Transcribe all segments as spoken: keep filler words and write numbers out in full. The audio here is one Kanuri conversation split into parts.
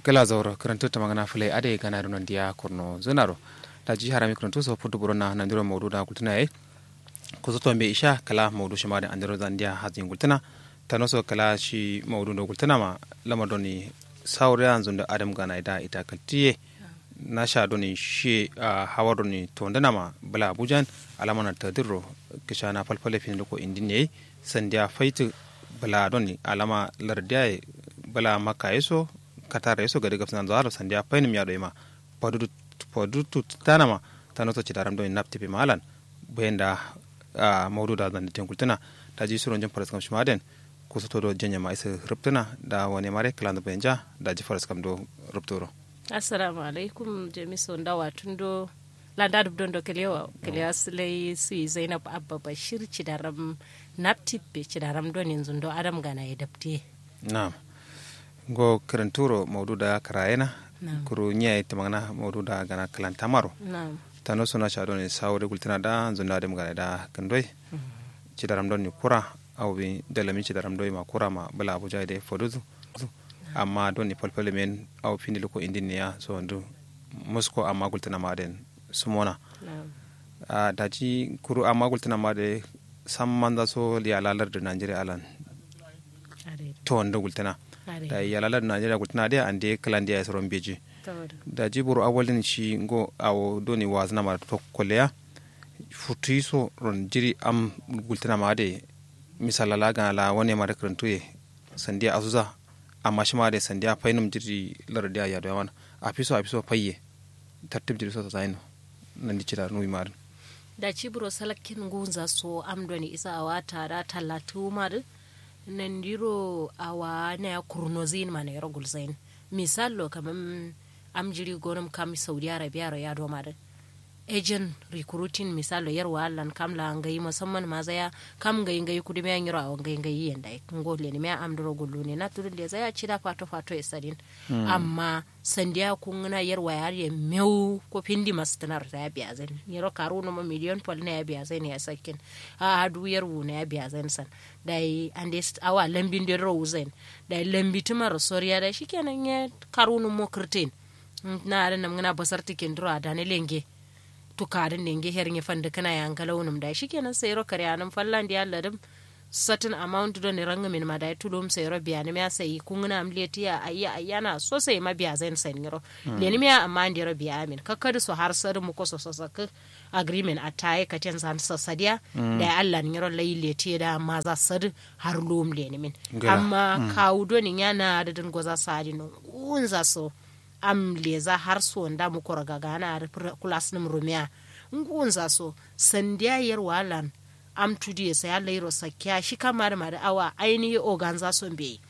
Kǝla zauro kǝrǝntǝ tǝmangǝna fǝlai adai gana dǝ nondiya kurno zǝnaro. Daji harami kǝrǝntǝ so fuddu burona nandiro maudu da gultǝna yayi. Kusoto mbe isha kǝla maudu shima dǝ andiro zandiya hazin gultǝna. Tano so kǝla shi maudu ndo gultǝna ma lamar doni. Sauriya nzundu adam gana da ita kaltiye. Nasha doni shi a hawar doni tondǝna ma bǝla abujan. Alama na tadirro kǝshana falfale fin luko indin yayi. Sandiya faitǝ bǝla doni alama lardiya ye. Bǝla makka ye so katara ye so gade gabsǝna nzawaro sandiya fainǝm ya doi ma. Fadutu fadutu tanama. Tano so cidaram doni naptipi ma alan. Bayan da a maudu da zande ten gultǝna. Daji suron jin faraskam shima den. Kusoto do janye ma isa rubtǝna da wane mare kǝlanzǝ bayan ja. Daji faraskam do rubturo. Assalamu alaikum jamiso ndawa tundo. Landa dubdondo kalewa kalewa sǝlai sui zainab abba bashir cidaram. Naptip be cidaram doni nzundo adam gana ye dabte. Nam. Ngo kǝrǝnturo maudu da kǝrayena. Nam. Kuru nyiya ye tǝmangǝna maudu da gana kǝlantamaro. Nam. Tano so nasha doni sawo de gultǝna da nzundo adam gana da kǝndoi. Cidaram doni kura au bi dalami cidaram doi ma kura ma bǝla abuja ye de foduzu. Amma doni falfale men au findi luko indin ne ya so ndu. Musko amma gultǝna ma den sumona. Daji kuru amma gultǝna ma dǝ. Sammanza so yala lardǝ najeriya alan. Tondu gultǝna. Dayi yala lardǝ najeriya gultǝna dǝ ande kǝlandiya ye soro mbeji. Daji buro awalin shi ngo awo doni wazǝna ma dǝ tokko leya. Futuyi so ron jiri am gultǝna ma dǝ. Misalla la gana la wane ma dǝ kǝrǝntuye. Sandiya asuza. Amma shima dǝ sandiya fainum jiri lardǝ diya yaduwa mana. Afiso afiso faiye. Tartib jiri so sasayin no. Nandi cida nuwi madǝn. Daci buro salakkin ngunza so am doni isa awa tada tallatu madǝ. Nandiro awa naya kurnozain ma nayiro gulzain. Misallo kamam am jiri gonum kam saudi arabia ro yado madǝ. Ejen recruiting misallo yarwa allan kam la ngai musamman mazaya. Kam ngai ngai kudumiya nyiro awo ngai ngai yenda ngo lenimiya am duro gullune na tudun lezaya cida fato fato ye sadin. Amma sandiya kungǝna yarwa ye adǝ ye mewu ko findi mastǝnaro saya biyazain nyiro karu numo miliyon fal naya biyazain ya sakkin. A'a du yarwu naya biyazain san. Dayi ande awa lambin dedǝ ro wuzain. Dayi lambitǝmaro soriya dayi shikenan ye karu numo kǝrtin. Na adǝ namgǝna basartǝ kinduro adane lenge. Tukadǝn nenge her nye fandǝkǝna ye angalaunǝm dayi shikenan sairo kareyanǝm fallan diya ladǝm. Satǝn amount done rangǝmin ma dayi tulum sairo biyanǝm ya sayi kungǝnam letiya ayya ayyana so saima biyazain sain nyiro. Lenǝm ya amma andero biyamin kakkadǝ so har sadǝ muko so sasakkǝ. Agreement attaye katen zan sasadiya. Dayi allan nyiro lai letiye da amma za sadǝ. Har lum lenǝmin. Amma kawu done nya na adǝ dǝn goza sadǝ no. Ngunza so. Am leza har so nda mukoro gagana adǝ kulasnǝm rumiya. Ngunza so sandiya yarwa lan. Am tudiye saya lairo sakkiya shi kam adǝ madǝ awa ainihi oganza so mbeyi.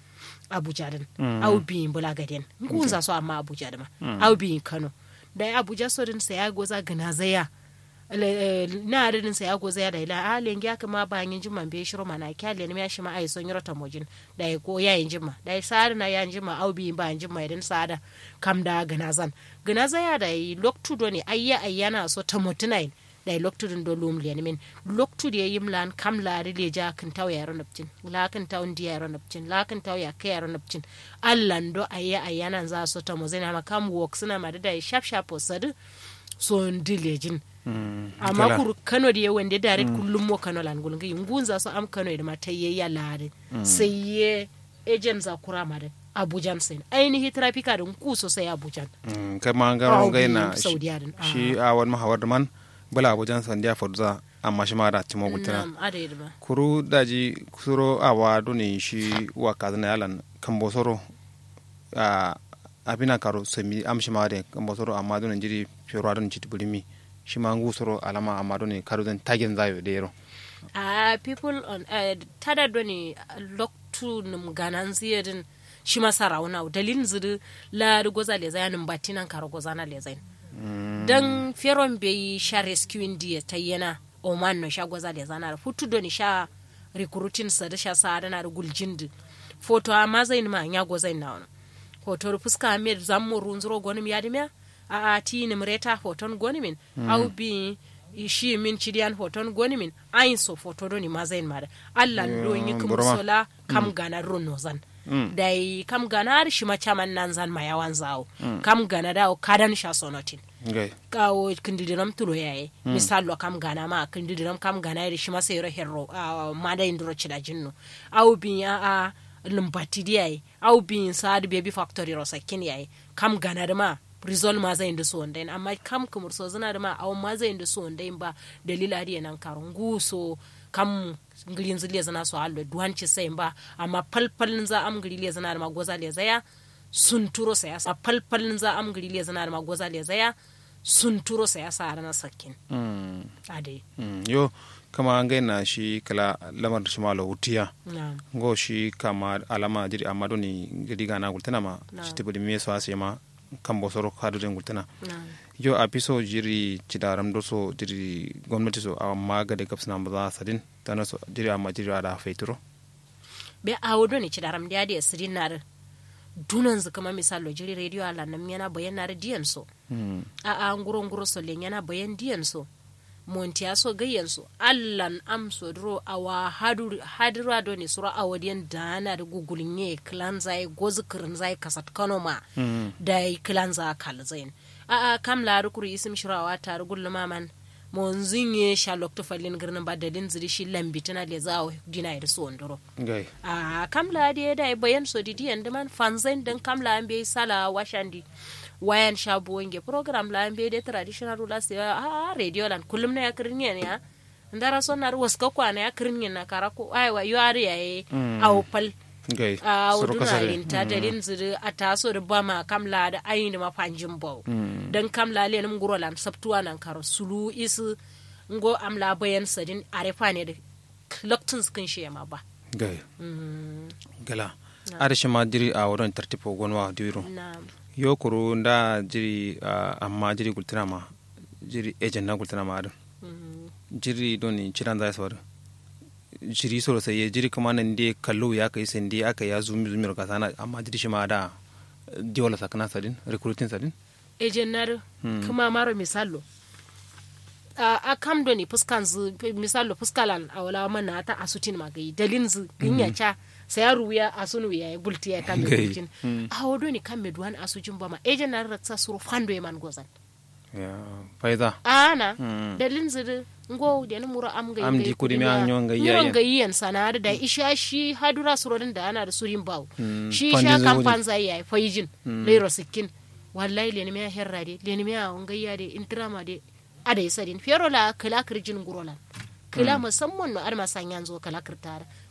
Abuja dǝn. Au biyin bǝla gaden ngunza so amma abuja dǝma. Au biyin kano. Dayi abuja so dǝn saya goza gǝnazaya. Na adǝ dǝn saya gozaya dayi la a lengiya kǝma ba nginjin ma mbeyi shiro mana kiya lenimiya shima ayi so nyiro tamojin. Dayi ko yayi njimma dayi sa'adǝ na ya njimma au biyin ba njimma ye dǝn sa'ada. Kam da gǝnazan. Gǝnazaya dayi loktu done ayya ayyana so tamotǝnayin. Dayi loktu dǝn do lum lenimin. Loktu diye yim lan kam la adǝ leja kǝntau yayiro nabcin. La kǝntau ndi yayiro nabcin la kǝntau yakkǝ yayiro nabcin. Allan do ayya ayyananza so tamozǝnama kam woksǝnama dǝ dayi shaf shafo sadǝ. So ndǝ lejin. Amma kuru kano diye wande daret kullum mo kano lan gulngi ngunza so am kano ye dǝma tayye yalla adǝ. Sai ye ejen za kura ma dǝ. Abujan sain ainihi trafika dǝ ngu so sai abujan. Kama ngaro ngai na shi. Awan ma hawar dǝman. Bǝla abujan sandiya fodza. Amma shima da timo gultǝna. Kuru daji suro awa done shi wakazǝna yalan kambo soro. Abina karo sami am shima de kambo soro amma done njiri. Fero adon citi bǝrimi. Shima ngu soro alama amma done karo zan tagen zayo de yero. Ahh people on tada done loktu nǝm gananzǝ ye dǝn. Shima sarawuna wo dalilnzǝ dǝ. Laa dǝ goza lezaya nǝm batti nankaro gozana lezain. Dan feron beyi sha rescuing diye taiyena. Oman no sha goza lezana dǝ futu done sha. Recruiting sadǝ sha sa'adǝna dǝ guljin dǝ. Foto amma zain ma nya gozain nawono. Foto dǝ fuska amme dǝ zammo runzuro gonǝm yadǝmiya. A'a tinǝm reta foton gonǝmin. Au biyi. Shiyimin cidiyan foton gonimin. Ayin so foto doni mazayin mada. Allan do nyi kǝmur so la kam gana duro nozan. Dayi kam gana adǝ shima caman nanzan ma yawanza awo. Kam gana dǝ awo kadan sha sonotin. Awo kǝndǝdiram tulo yaye. Misallo kam gana ma kǝndǝdiram kam gana ye dǝ shima sairo herro. Madayin duro cidajin no. Awo biya a lǝmbatti dǝ yaye. Awo biyin sa adǝ baby factory ro sakkin yaye. Kam gana dǝ ma rizol mazayin dǝ suwondayin amma kam kǝmur sozǝna dǝ ma awo mazayin dǝ suwondayin ba. Dalil adǝ ye nankaro nguwu so. Kam ngǝlinzǝ lezǝna so allo duwan cisayin ba. Amma fal fal nza am ngǝli lezǝna dǝ ma goza lezaya. Sunturo saya sa fal fal nza am ngǝli lezǝna dǝ ma goza lezaya. Sunturo saya sa adǝ na sakkin. Adai. Yo. Kǝma ngai na shi kǝla lamar dǝ shima lo wutiya. Ngo shi kama alama jiri amma doni gadi gana gultǝna ma. Shi tǝbǝ dǝ me so ase ma. Kambo soro kadu dǝn gultǝna. Yo afiso jiri cidaram do so jiri gomnati so amma gade gabsǝna mbaza sadin. Tana so jiri amma jiri ada faituro. Be awo done cidaram de ade sǝdin nadǝ. Dunonzǝ kǝma misallo jiri radio alanǝm nyena bayan nadǝ diyan so. A'a nguro nguro so lenyena bayan diyan so. Montiya so gayyan so allan am so duro awa hadura done suro awo diyan daana dǝ gugulnye kǝlanza ye gozǝ kǝrǝnza ye kasatkano ma. Dayi kǝlanza kalzayin. A'a kam laa dǝ kuru isǝm shiro awa tarǝ gulluma man. Monzǝ nye sha loktu fallin gǝrnǝm ba dalin zǝ dǝ shi lambitǝna lezǝ awo dina ye dǝ suwon duro. Ahh kam laa diye dayi bayan so didiyen dǝman fanzain dǝn kam laa mbeyi sala washandi. Wayan sha buwo nge program laa mbeyi de traditional rulers ye ahh radio lan kullum naya kǝrǝnyen ya. Ndara so nari waska kwa naya kǝrǝnyen na kara ko aiwa yo adǝ yaye. Awo fal. Awo duna rinta dalin zǝ dǝ ata so dǝ bama kam laa dǝ ayin dǝ ma fanjin bawo. Dǝn kam laa lenǝm nguro lan sabtuwa nan karo sulu isǝ. Ngo am laa bayan sadin are fane dǝ. Loktunzǝ kǝn shiyema ba. Gǝla. Adǝ shima jiri awo don tartib fo gonwa diwiro. Yo kuru nda jiri amma jiri gultǝna ma. Jiri ejen na gultǝna ma adǝ. Jiri don cidanza ye so adǝ. Jiri soro sai ye jiri kǝma nande kallo ya kai sande aka ya zumi zumi ro kasana amma jiri shima ada. Diola sakna sadin recruiting sadin. Ejen nadǝ. Kǝma maro misallo. Ahh kam done fǝskanzǝ misallo fǝskalan awo lawa manata asutin ma gayi dalinzǝ gǝnya ca. Saya ruwiya asun wiya ye gultiya ye kam ye gultin. Awo done kam ye duwan asujin bama ejen nadǝ raksa suro fando ye man gozan. Faiza. Ahh na. Dalinzǝ dǝ ngo lenǝm wuro am gayi gayi kudimiya nyo ngayi yen sana'a dǝ dayi isha shi hadura suro dǝn daana dǝ surin bawo. Shi isha kam fanza yayi faijin. Lairo sǝkkin. Wallahi lenimiya herra de lenimiya awo ngaiya de intirama de. Adai sadin fero laa kǝla kǝrjin nguro lan. Kǝla musamman no adǝ ma sanyanzo kǝla kǝrta dǝ.